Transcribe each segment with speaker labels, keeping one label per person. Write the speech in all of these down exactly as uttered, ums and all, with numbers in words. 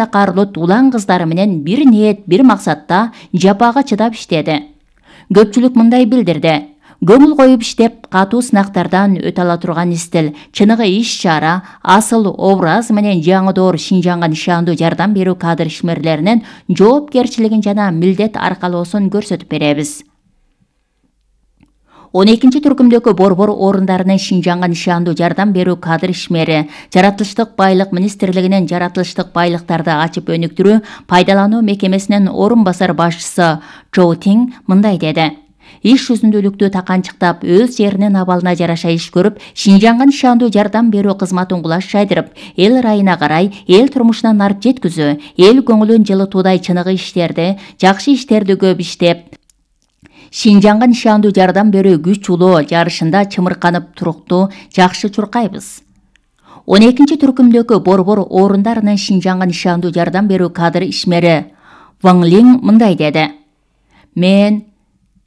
Speaker 1: Карлут улан кыздары менен бир ниет, бир максатта жапага чыдап иштеди. Көпчүлүк мындай билдирди. Көңүл коюп иштеп, катуу сынактардан өтө ала турган Истил чыныгы иш-чара, асыл образ менен жаңы доор Шинжаңга нишандуу жардам берүү кадр ишмерлеринин жоопкерчилигин жана милдет аркалоосун көрсөтүп беребиз. он экинчи түркүмдөгү борбор орундарынын Шинжаңга нишандуу жардам берүү кадр ишмери Жаратылыштык байлык министрлигинин жаратылыштык байлыктарды ачып өнүктүрүү пайдалануу мекемесинин орун басар башчысы Чоу Тиң мындай деди. Иш жүзүндүүлүктү таканчыктап, өз жеринин абалына жараша иш көрүп, Шинжаңга нишандуу жардам берүү кызматын кулаш жайдырып, эл ырайына карай, эл турмушуна нарып жеткизүү, эл көңүлүн жылытуудай чыныгы иштерди, жакшы иштерди көп иштеп, Шинжаңга нишандуу жардам берүү күч улуу жарышында чымырканып туруктуу жакшы чуркайбыз. он экинчи түркүмдөгү борбор орундарынын Шинжаңга нишандуу жардам берүү кадр ишмери Ван Линь мындай деди. Мен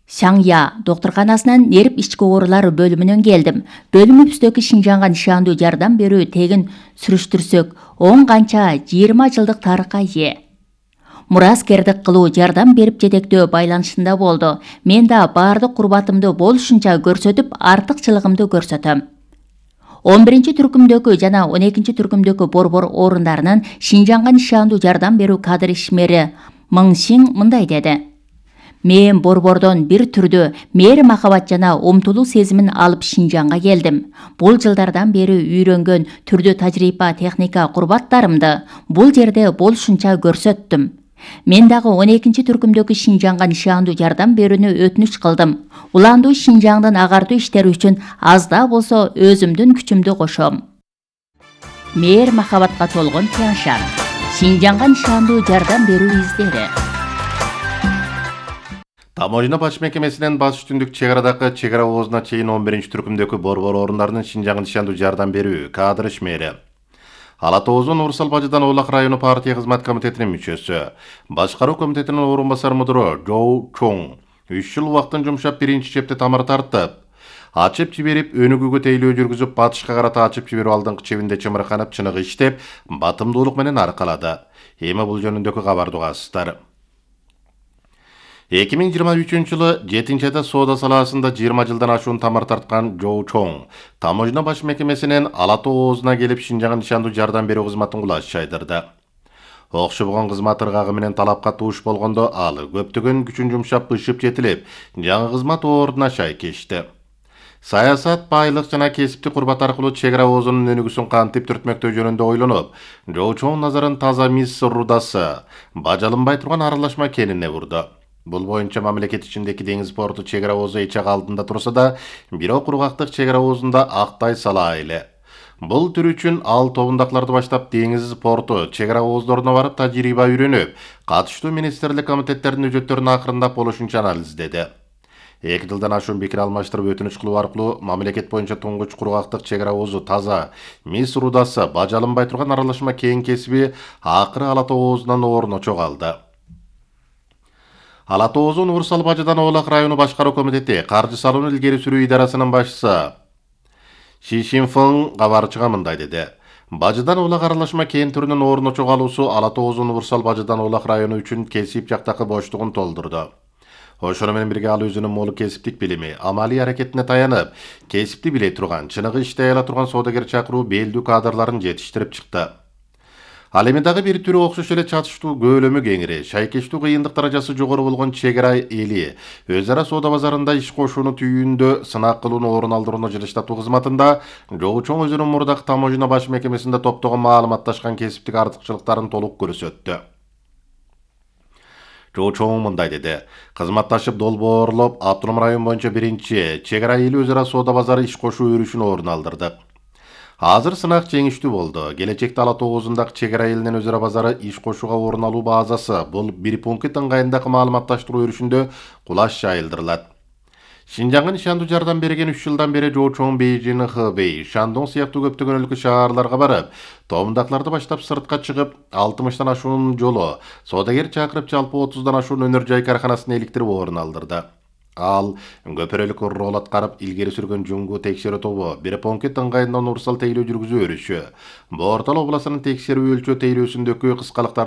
Speaker 1: Саңя докторканасынан нерип ички оорулар бөлүмүнөн келдим. Бөлүмүбүздөгү Шинжаңга нишандуу жардам берүү тегин сүрүштүрсөк, он канча жыйырма жылдык тарыхка ээ. Мураскердик кылуу, жардам берип жетектөө байланышында болду. Мен да баардык курбатымды болушунча көрсөтүп, артыкчылыгымды көрсөтөм. он биринчи түркүмдөгү жана он экинчи түркүмдөгү борбор орундарынын Шинжаңга нишандуу жардам берүү кадр ишмери Мың Сиң мындай деди. Мен борбордон бир түрдүү мээри махабат жана умтулуу сезимин алып Шинжаңга келдим. Бул жылдардан бери үйрөнгөн түрдүү тажрыйба, техника, курбаттарымды бул жерде болушунча көрсөттүм. Мен дагы он экинчи түркүмдөгү Шинжаңга нишандуу жардам берүүнү өтүнүч кылдым. Уландуу Шинжаңдын агартуу иштери үчүн аз да болсо өзүмдүн күчүмдү кошом. Мээр махабатка толгон Тяншан. Шинжаңга нишандуу жардам берүү издери.
Speaker 2: Таможня баш мекемесинен Батыш түндүк чек арадагы чек ара оозуна чейин он биринчи түркүмдөгү борбор орундарынын Шинжаңга нишандуу жардам берүү кадр ишмери Ала Тоозу Нурсал Бажыдан-Олак району партия кызмат комитетинин мүчөсү, башкаруу комитетинин орун басар мудуру Жоу Чоң үч жыл убактын жумшап биринчи чепте тамыр тартып, ачып жиберип, өнүгүүгө тейлөө жүргүзүп, батышка карата ачып жиберүү алдыңкы чебинде чымырканып, чыныгы иштеп, батымдуулук менен аркалады. Эми бул жөнүндөгү кабарды угасыздар. эки миң жыйырма үчүнчү жылы жетинчи айда соода салаасында жыйырма жылдан ашуун тамыр тарткан Жоу Чоң таможня баш мекемесинен Ала Тоо оозуна келип Шинжаңга нишандуу жардам берүү кызматын кулаш жайдырды. Окшобогон кызмат ыргагы менен талапка тууш болгондо ал көптөгөн күчүн жумшап ышып жетилип, жаңы кызмат ордуна шай кечти. Саясат, байлык жана кесиптик курбат аркылуу чек ара оозунун өнүгүүсүн кантип түртмөктөө жөнүндө ойлонуп, Жоу Чоң назарын таза мис рудасы, бажалынбай турган аралашма экенине бурду. Бул боюнча мамлекет ичиндеги деңиз порту чек ара оозу эч ак алдында турса да, бирок кургактык чек ара оозунда актай сала эле. Бул түр үчүн ал тобундакыларды баштап деңиз порту чек ара ооздоруна барып тажрыйба үйрөнүп, катыштуу министрлик комитеттердин өжөттөрүн акырындап болушунча анализдеди. эки жылдан ашуун пикир алмаштырып өтүнүч кылуу аркылуу мамлекет боюнча туңгуч кургактык чек ара оозу таза мис рудасы, бажалынбай турган аралашма кең кесиби акыры Ала Тоо оозунан орун чогалды. Ала Тоозу Нурсал Бажыдан-Олак району башкаруу комитети каржы салууну илгери сүрүү идарасынын башчысы Ши Шинфeng кабарчыга мындай деди. Бажыдан-Олак аралашма кен түрүнүн орун чогалуусу Ала Тоозу Нурсал Бажыдан-Олак району үчүн кесип жактагы боштугун толтурду. Ошону менен бирге ал өзүнүн молу кесиптик билими, амалий аракетине таянып, кесипти биле турган, чыныгы иштей ала турган соодагер чакыруу белдүү кадрларын жетиштирип чыкты. Ал эми дагы бир түрү окшош эле чатыштуу көөлөмү кеңири, шайкештүү кыйындык даражасы жогору болгон чек ара эли өз ара соода базарында иш кошууну түйүүндө сынак кылууну орун алдырууну жылыштатуу кызматында Жоу Чоң өзүнүн мурдагы таможня баш мекемесинде топтогон маалыматташкан кесиптик артыкчылыктарын толук көрсөттү. Жоу Чоң мындай деди. Кызматташып долбоорлоп, автоном район боюнча биринчи чек ара эли өз ара соода базары иш кошуу өрүшүн орун алдырдык. Азыр сынак жеңиштүү болду. Келечекте Ала Тоо оозундагы чек ара элинин өз ара базары иш кошууга орун алуу базасы бул бир пункт ыңгайындагы маалыматташтыруу өрүшүндө кулаш жайылдырылат. Шинжаңга нишандуу жардам берген үч жылдан бери Жоу Чоң Бейжин, Хэбэй, Шандон сыяктуу көптөгөн өлкө шаарларга барып, тоомдакыларды баштап сыртка чыгып, алтымыштан ашуун жолу, соодагер чакырып жалпы отуздан ашуун өнөр жай карканасын эликтирип орун алдырды. Ал көпөрөлүк рол аткарып илгери сүргөн жуңгу текшерүү тобу бир пункт ыңгайында Нурсал тейлөө жүргүзүү өрүшү, Бортал областынын текшерүү өлчөө тейлөөсүндөгү кыскалыктар